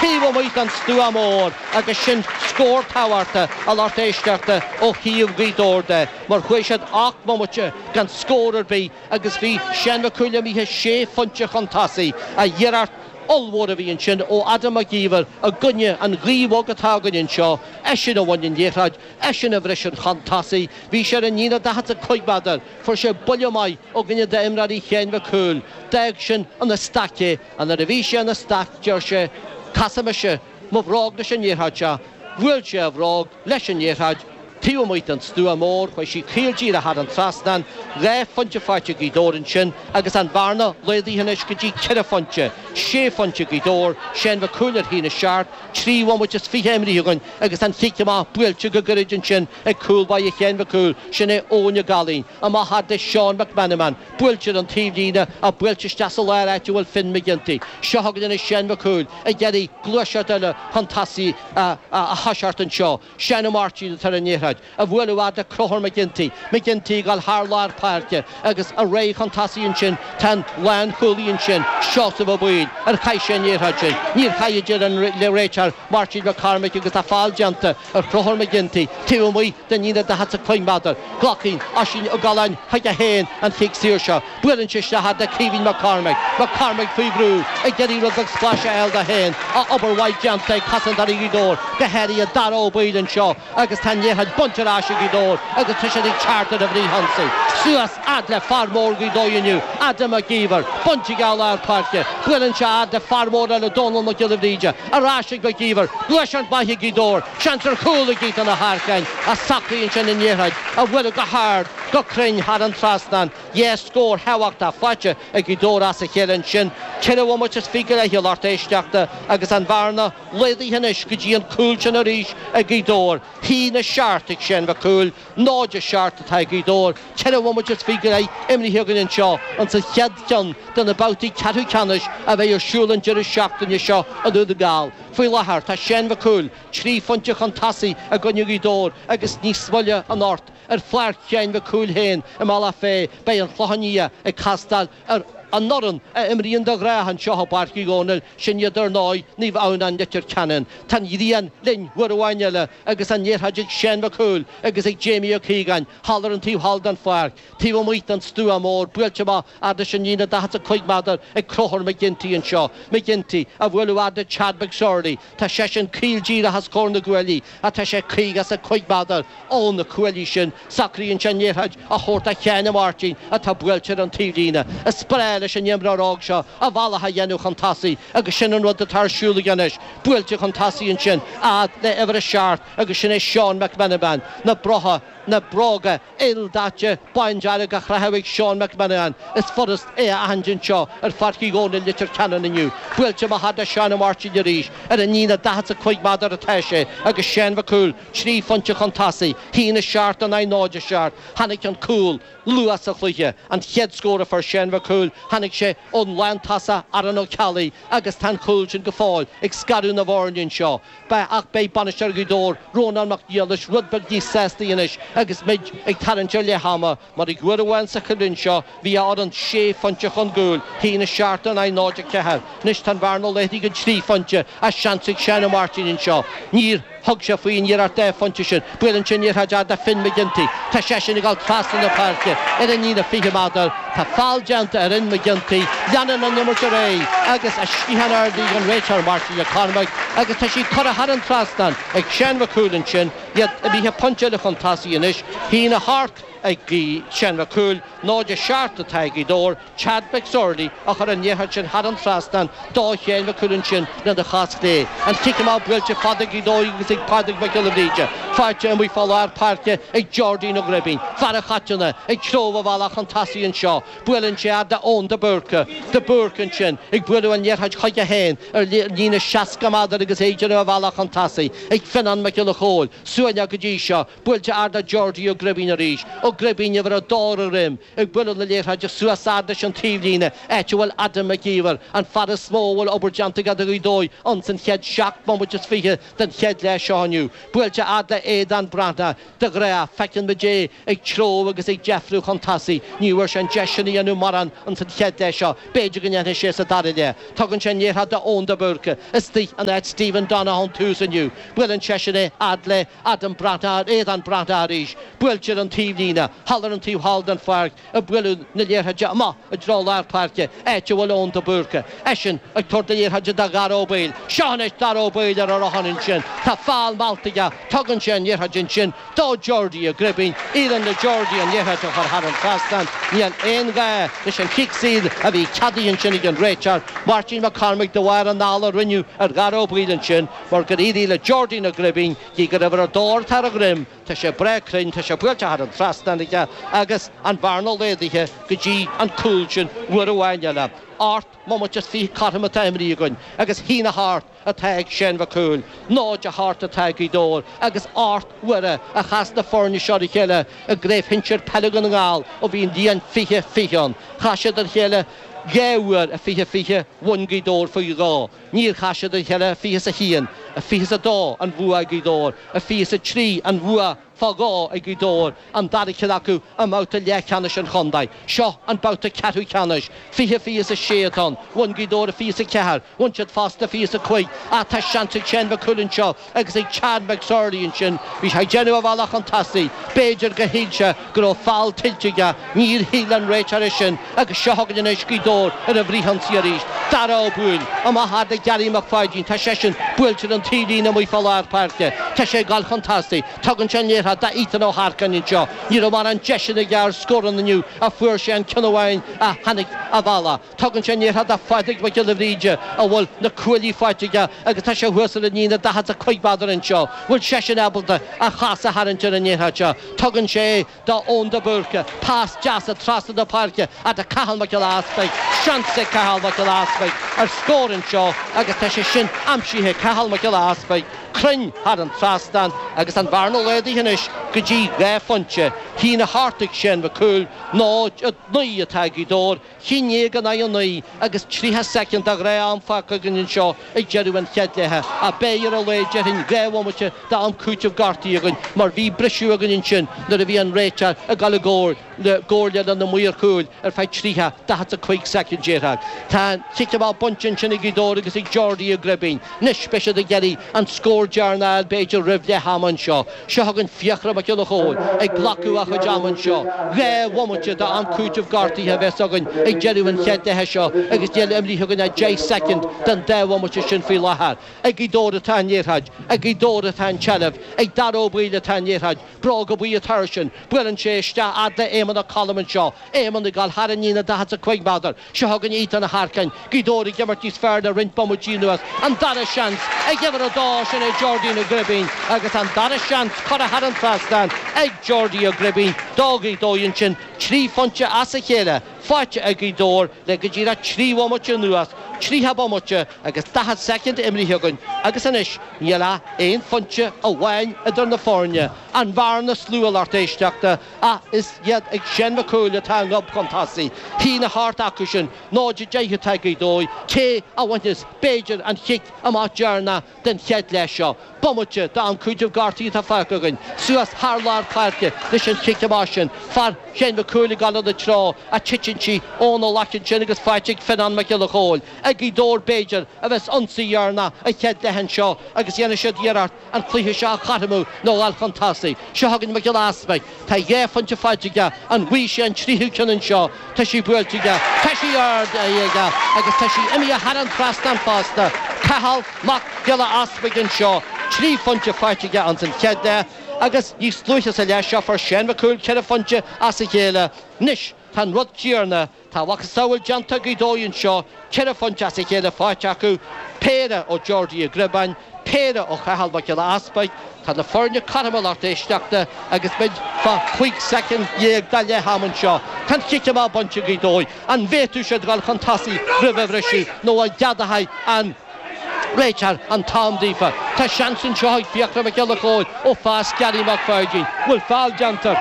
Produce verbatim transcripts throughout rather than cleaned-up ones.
Taobh amuigh den stua mór agus sin scór tábhachtach a lucht éisteachta ó thaobh Ghaoth Dobhair de mar chuaigh siad ocht mbomaite gan scór ar bith agus bhí Seán Mac Cumhaill imithe sé phointe chun tosaigh iarracht ollmhór a bhí ansin ó Adam Mac Íomhair i gcoinne an ghaoth bhog atá againn anseo, eisean a bhain an liathróid, eisean a bhris an chun tosaigh, bhí sé ar an líne daichead is a cúig méadar, fuair sé buille maith ó dhuine d'imreoirí Sheáin Mhic Cumhaill, d'fhág sin ina staic é, and nuair a bhí sé ina staic deir sé, casfaidh mise mo bhróg leis an liathróid seo, bhuail sé a bhróg leis an liathróid, taobh amuigh den stua mór, chuaigh sí caol díreach thar an trasnán, dhá phointe faighte ag Gaoth Dobhair ansin agus an bhearna laghdaithe anois go dtí ceithre phointe, sé phointe Gaoth Dobhair, Seán Mac Cumhaill ar haon a seacht, trí bhomaite is fiche imrithe againn agus an chic amach buailte go gairid ansin ag cúl báire Sheáin Mhic Cumhaill, sin é Eoin Ó Gallaín, amach fhad le Seán McMenamin, buailte ar an taobhlíne ach buailte isteach sa lár áit a bhfuil Finn McGinty. Seo chugainn anois Seán Mac Cumhaill ag iarraidh gluaiseacht eile chun tosaigh a thoiseacht anseo. Seán Ó Máirtín atá ar an liathróid, á bualadh fhad le Conchúr McGinty, McGinty ag dul thar lár páirce agus ar aghaidh chun tosaigh ansin, tá an lánchúlaí ansin, Seosamh Ó Baoill, ar chaith sé an liathróid sin? Níor chaith a deir an réiteoir Máirtín Mac Cormaic agus tá feall déanta ar Chonchúr McGinty taobh amuigh den líne daichead is a cúig méadar. Glacann Oisín Ó Galláin chuige féin an chic saor seo. Buaileann sé isteach fhad le Caoimhín Mac Cormaic. Mac Cormaic faoi bhrú ag iarraidh rud beag spáis a fháil dó féin. Obair mhaith déanta ag cosantóirí Ghaoth Dobhair, go háirithe Dara Ó Baoill anseo agus tá an liathróid bainte ar ais ag Gaoth Dobhair agus tá siad ag teacht ar an bhfrithionsaí. Suas fhad le fear mór Ghaoth Dobhair inniu, Adam Mac Íomhair, bainte aige i lár páirce. Buaileann sé fhad le fear mór eile, Dónal Mac Giolla Bhríde. Ar ais ag Mac Íomhair. Gluaiseacht mhaith ag Gaoth Dobhair. Seans ar chúl ag Ethan Ó hEarcáin a socraíonn sin an liathróid a bhualadh go hard, go cruinn thar an trasnán. Dhá scór thábhachtach faighte ag Gaoth Dobhair as a chéile ansin. Ceithre bhomaite is fiche go leith a lucht éisteachta agus an bhearna laghdaithe anois go dtí an cúl sin arís ag Gaoth Dobhair. Haon a seacht ag Seán Mac Cumhaill, náid a seacht atá ag Gaoth Dobhair. Ceithre bhomaite is fiche go leith imrithe againn anseo insa chéad cheann de na babhtaí ceathrú ceannais a bheidh ar siúl an deireadh seachtaine seo i nDún na nGall. Faoi láthair tá Seán Mac Cumhaill trí phointe chun tosaigh i gcoinne Ghaoth Dobhair agus níos moille anocht ar pháirc Sheáin Mhic Cumhaill féin i mBealach Féich beidh an Clochán Liath ag castáil ar an fhoireann a imríonn de ghnáth anseo i bPáirc Uí Dhónaill, sin iad ar ndóigh, Naomh Adhamhnáin Leitir Ceanainn. Tá an ghrian linn uair amháin eile agus an liathróid ag Seán Mac Cumhaill agus ag Jamie Ó Caogáin thall ar an taobh thall den pháirc, taobh amuigh den stua mór, buailte amach fhad leis an líne daichead is a cúig méadar ag Conchúr McGinty anseo. McGinty á bhualadh fhad le Chad McSorley. Tá seisean caol díreach os comhair na gcuaillí ach tá sé caoga is a cúig méadar ó na cuaillí sin. Socraíonn sé an liathróid a thabhairt do Sheán Ó Máirtín atá buailte ar an taobhlíne. Is breá leis an imreoir óg seo a bhealach a dhéanamh chun tosaigh agus sin an rud atá ar siúl aige anois. Buailte chun tosaigh ansin fhad le uimhir a seacht agus sin é Seán McMenamin. Na brotha, na bróga ildaite bándearg á chaitheamh ag Seán McMenamin. Is furast é a aithint anseo ar Pháirc Uí Dhónaill Leitir Ceanainn inniu. Buailte amach fhad le Seán Ó Máirtín arís. Ar an líne daichead is a cúig méadar atá sé agus Seán Mac Cumhaill trí phointe chun tosaigh, haon a seacht in aghaidh náid a seacht. Tháinig an cúl luath sa chluiche. An chéad scór a fuair Seán Mac Cumhaill, tháinig sé ón lántosach Aaron Ó Ceallaigh agus tá an cúl sin go fóill ag scaradh na bhfoirne anseo. Ach beidh bainisteoir Ghaoth Dobhair, Rónán Mac Niallais, rud beag níos sásta anois agus muid ag tarraingt ar leath ama, mar ag uair amháin sa choimhlint seo bhí a fhoireann sé phointe chun cúil, haon a seacht in aghaidh náid a ceathair. Anois tá an bhearna laghdaithe go trí phointe ach seans ag Seán Ó Máirtín anseo. Níor thug sé faoin iarracht dhá phointe sin. Buaileann sé an liathróid fhad le Finn McGinty. Tá seisean ag dul trasna na páirce ar an líne fiche méadar. Tá feall déanta ar Fhinn McGinty. Leanann an imirt ar aghaidh agus a sciathán ardaithe ag an réiteoir Máirtín Mac Cormaic agus tá sí curtha thar an trasnán ag Seán Mac Cumhaill ansin. Iad imithe pointe eile chun tosaigh anois. Haon a hocht ag Seán Mac Cumhaill, náid a seacht atá ag Gaoth Dobhair, Chad McSorley a chuir an liathróid sin thar an trasnán do Sheán Mac Cumhaill ansin lena chos chlé. An cic amach buailte fada ag Gaoth Dobhair agus ag Pádraig Mac Giolla Bhríde. Faighte amuigh fá lár páirce ag Jordín Ó Gribín. Fear an Choiteanna ag treabhadh a bhealach chun tosaigh anseo. Buaileann sé fhad le Eoin de Búrca. De Búrca ansin ag bualadh an liathróid chuige féin ar líne seasca méadar agus é ag déanamh a bhealach chun tosaigh ag Fionnán Mac Giolla Chóill. Suaimhneach go dtí seo. Buailte ard le Geordie Ó Gribín arís. Ó Gribín uimhir a dó ar a dhroim ag bualadh na liathróide suas fhad leis an taobhlíne, áit a bhfuil Adam Mac Íomhair, an fear is mó a bhfuil obair déanta aige do Ghaoth Dobhair ins an chéad seacht mbomaite is fiche den chéad leath seo inniu. Buailte fhad le Aodán Breathnach, de ghnáth, feiceann muid é ag treabhadh agus ag deifriú chun tosaigh. Ní bhfuair sé an deis sin a dhéanamh mórán ins an chéad leath seo. B'fhéidir go ndéanfaidh sé sa dara leath. Tugann sé an liathróid d'Eoin de Búrca istigh in áit Stephen Donoghue ón tús inniu. Buaileann seisean é fhad le Adam Breathnach, Aodán Breathnach arís. Buailte ar an taobhlíne, thall ar an taobh thall den pháirc, ag bualadh na liathróide amach i dtreo lár páirce, áit a bhfuil Eoin de Búrca. Eisean ag tabhairt na liathróide do Dhara Ó Baoill. Seo anois Dara Ó Baoill ar a rothán ansin. Tá feall meallta aige. Tugann sé an liathróid ansin do Geordie Ó Gribín. Éiríonn le Geordie an liathróid a chur thar an trasnán. Níl aon ghá leis an chic saor a bhí ceadaithe ansin ag an réiteoir, Máirtín Mac Cormaic, de bharr an fheall a rinneadh ar Dhara Ó Baoill ansin, mar gur éirigh le Geordie Ó Gribín, gidh gur uimhir a dó atá ar a dhroim, tá sé breá cruinn, tá sé buailte thar an trasnán aige agus an bhearna laghdaithe go dtí an cúl sin uair amháin eile. Ocht mbomaite is fiche cothrom atá imrithe againn agus a haon a hocht atá ag Shane Mhic Cumhaill, náid a hocht atá ag Gaoth Dobhair agus ocht uaire a chas na foirne seo ar a chéile i gCraobh Shinsir Peile Dhún na nGall ó bhí an bhliain fiche fiche ann. Chas siad ar a chéile dhá uair i fiche fiche, bhain Gaoth Dobhair faoi dhó. Níor chas siad ar a chéile i fiche is a haon, i fiche is a dó an bhua ag Gaoth Dobhair, i fiche is a trí an bhua fá dhó ag Gaoth Dobhair, an dara ceann acu i mbabhta leathcheannais an chontae. Seo an babhta ceathrú ceannais. Fiche fiche is a sé atá ann. Bhain Gaoth Dobhair i fiche is a ceathair, bhain siad fosta i fiche is a cúig. Ach tá seans ag Shane Mac Cumhaill anseo agus ag Chad McSorley ansin. Bhí sé ag déanamh a bhealach chun tosaigh. B'fhéidir gur shíl sé go raibh feall tuillte aige. Níor shíl an réiteoir é sin agus seo chugainn anois Gaoth Dobhair ar an bhfrithionsaí arís. Dara Ó Baoill, amach fhad le Gary Mac Pháidín. Tá seisean buailte ar an taobhlíne amuigh fá lár páirce. Tá sé ag dul chun tosaigh. Tugann sé an liathróid d'Ethan Ó hEarcáin anseo. Ní raibh mórán deiseanna aige ar scóranna inniu ach fuair sé an ceann amháin a tháinig a bhealach. Tugann sé an liathróid do Phádraig Mac Giolla Bhríde a bhfuil na cuaillí faighte aige agus tá sé thuas ar an líne daichead is a cúig méadar anseo. Bhfuil seisean ábalta a chos a tharraingt ar an liathróid seo? Tugann sé é d'Eoin de Búrca. Pas deas trasna na páirce fhad le Cathal Mac Giolla Easpaig. Seans ag Cathal Mac Giolla Easpaig ar scór anseo agus tá sé sin aimsithe ag Cathal Mac Giolla Easpaig cruinn thar an trasnán agus an bhearna laghdaithe anois go dtí dhá phointe. Haon a hocht ag Shane Mac Cumhaill, náid a naoi atá ag Gaoth Dobhair, haon déag in aghaidh a naoi agus tríocha soicind de ghnáth-am fágtha againn anseo ag deireadh an chéad leatha. Ach beidh ar a laghad déarfainn dhá bhomaite d'am cúitimh gortaithe againn mar bhí briseadh againn ansin nuair a bhí an réiteoir ag dul i gcomhairle le na maoir chúil ar feadh tríocha, daichead is a cúig soicind déarfá. Tá an cic amach bainte ansin ag Gaoth Dobhair agus ag Geordie Ó Gribín. Anois beidh siad ag iarraidh an scór deireanach a fháil b'fhéidir roimh leath ama anseo. Seo chugainn Fiachra Mac Giolla Chóill ag glacadh a chuid ama anseo. Dhá bhomaite d'am cúitimh gortaithe a bheas againn ag deireadh an chéad leatha seo agus níl imrithe againn ach deich soicind den dá bhomaite sin faoi láthair. Ag Gaoth Dobhair atá an liathróid, ag Gaoth Dobhair atá an tseilbh, ag Dara Ó Baoill atá an liathróid, bróga buí atá air sin. Buaileann sé isteach fhad le Éamonn Ó Colm anseo. Éamonn ag dul thar an líne daichead is a cúig méadar. Seo chugainn Ethan Ó hEarcáin. Gaoth Dobhair ag imirt níos fearr le roinnt bomaití anuas. An dara seans ag uimhir a dó, sin é Geordie Ó Gribín agus an dara seans curtha thar an trasnán ag Geordie Ó Gribín. Do Ghaoth Dobhair ansin trí phointe as a chéile faighte ag Gaoth Dobhair le go díreach trí bhomaite anuas, tríocha bomaite agus daichead soicind imrithe againn agus anois níl ach aon phointe amháin idir na foirne. An bhearna is lú a lucht éisteachta ach is iad ag Shane Mac Cumhaill atá an gob chun tosaigh. Haon a hocht acu sin, náid a deich atá ag Gaoth Dobhair, cé a bhainfeas b'fhéidir an chic amach deireanach den chéad leath seo. Bomaite d'am cúitimh gortaithe atá fágtha againn, suas thar lár páirce leis an chic amach sin. Fear Shane Mac Cumhaill ag dul ina treo ach titeann sí óna ghlac ansin agus faighte ag Fionnán Mac Giolla Chóill. Ag Gaoth Dobhair b'fhéidir a bheas ionsaí deireanach an chéad leath anseo agus dhéanfaidh siad iarracht an cluiche seo a chothromú nó a dhul chun tosaigh. Seo chugainn Mac Giolla Easpaig. Tá dhá phointe faighte aige. An bhfaighidh sé an tríú ceann anseo? Tá sí buailte aige. Tá sí ardaithe aige agus tá sí imithe thar an trasnán fosta. Cathal Mac Giolla Easpaig anseo. Trí phointe faighte aige ins an chéad leath agus níos luaithe sa leath seo fuair Shane Mac Cumhaill ceithre phointe as a chéile. Anois tá an rud céanna, tá a mhacasamhail déanta ag Gaoth Dobhair anseo, ceithre phointe as a chéile faighte acu, péire ó Geordie Ó Griobáin, péire ó Chathal Mac Giolla Easpaig. Tá na foirne cothrom a lucht éisteachta agus muid fá chúig soicind dhéag de leath am anseo. Tá an cic amach bainte ag Gaoth Dobhair. An bhféadfadh siad dul chun tosaigh roimh an bhriseadh nó an gceadóidh an réiteoir an t-am daofa? Tá seans anseo ag Fiachra Mac Giolla Chóill ó phas Gary Mac Pháidín. Bhfuil feall déanta?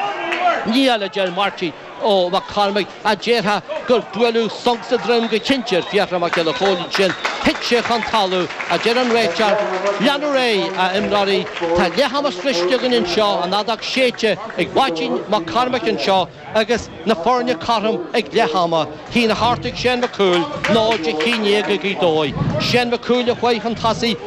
Níl a deir Máirtín Ó Mac Cormaic a déarfá gur buaileadh sonc sa droim go cinnte ar Fiachra Mac Giolla Chóill sin thit sé chun talún a deir an réiteoir lean ar aghaidh a imreoirí Tá leath ama sroichte againn anseo an fheadóg séidte ag Máirtín Mac Cormaic anseo agus na foirne cothrom ag leath ama haon a hocht ag Shane Mac Cumhaill náid a haon déag ag Gaoth Dobhair. Shane Mac Cumhaill a chuaigh chun tosaigh